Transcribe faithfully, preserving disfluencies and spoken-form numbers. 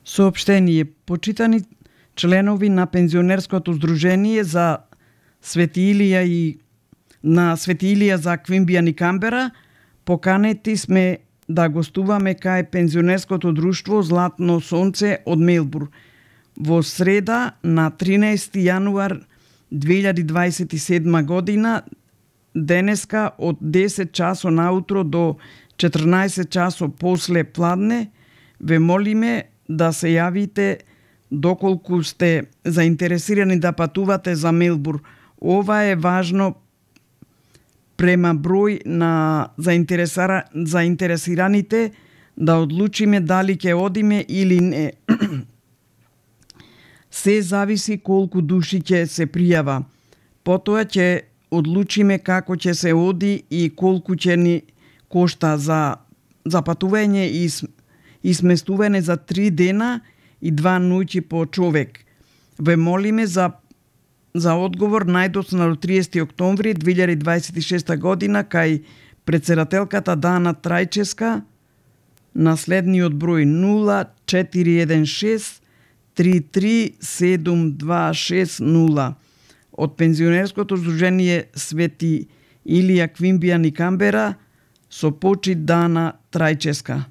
Соопштение. Почитани членови на пензионерското здружение за Свети Илија и на Свети Илија за Квинбијан и Камбера, поканети сме да гостуваме кај пензионерското друштво Златно сонце од Мелбур во среда на тринаесети јануар две илјади дваесет и седма година, денеска од десет часот наутро до четрнаесет часот после пладне. Ве молиме да се јавите доколку сте заинтересирани да патувате за Мелбур. Ова е важно према број на заинтересира... заинтересираните да одлучиме дали ќе одиме или не. Се зависи колку души ќе се пријава. Потоа ќе одлучиме како ќе се оди и колку ќе ни кошта за, за патување и, и сместување за три дена и два ноќи по човек. Ве молиме за за одговор најдоцна до триесети октомври две илјади дваесет и шеста година кај претседателката Дана Трајческа на следниот број нула четири еден шест три три седум два шест нула од пензионерското здружение Свети Илија Квинбијан и Камбера со почит Дана Трајческа.